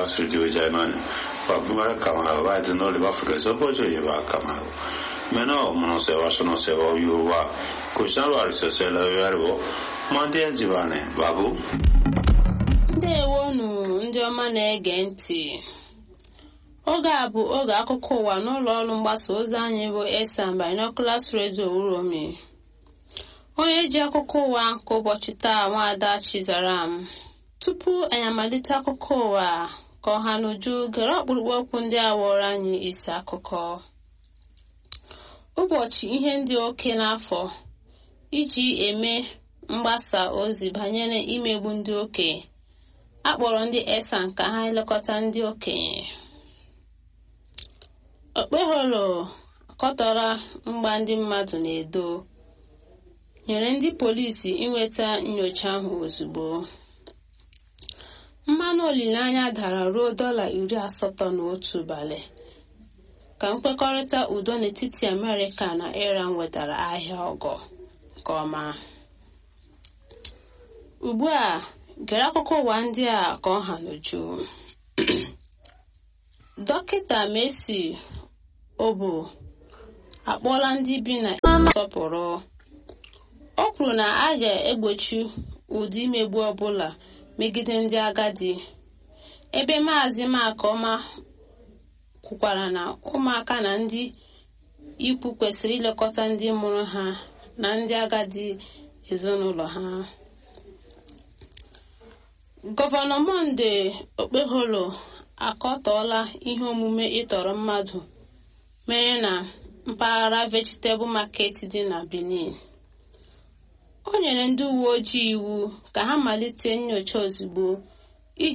studio jai ma ba mara kama ba de no le ba fure so bo jo ye ba kama me no mo no se wa so no se wa yu wa ko sha wa se se la ya ro ma de ji ba ne ba bu. Ndewonu ndị ọma na-ege ntị. Oge a bụ oge akụkọ ụwa n'ụlọ ọrụ mgbasa ozi anyị bụ Esan Binoculars Radio Uromi. Onye ji akụkọ ụwa nke ụbọchị taa, Nwaada Chizaram. Tupu anyị amalite akụkọ ụwa ka ọha n'uju, gere ọkpụrụkpụ okwu ndị a wụrụ anyị isi akụkọ. Ụbọchị ihe ndị oke n'afọ iji eme mgbasa ozi banyere imegbu ndị okenye. A kpọrọ ndị Esan ka ha elekọta ndị okenye. Okpeholo akọtọrọ mgba ndị mmadụ na-edo nyere ndị polisi inweta nyocha ahụ ozugbo. Mmanụ olileanya dara ruo $81 ụbalị ka nkwekọrịta udo n'etiti Amerịka na Iran wetara ahịa ọgọ nke ọma. Ugbu a, gere akụkọ ụwa ndị a ka ọ ha n'uju. Dọkịta Messi Obu akpọọla ndị bi na nsọpụrụ. O kwuru na a ga-egbochi ụdị imegbu ọbụla megide ndị agadi, ebe Maazị Makoma kwukwara na ụmụaka na ndị ikwu kwesịrị ilekọta ndị mụrụ ha na ndị agadi ezinụlọ ha. Gọvanọ Monday Okpeholo akọtọọla ihe omume ịtọrọ mmadụ mere na mpaghara Vegetable Market dị na Benin. O nyere ndị uwe ojii iwu ka ha malite nnyocha ozugbo.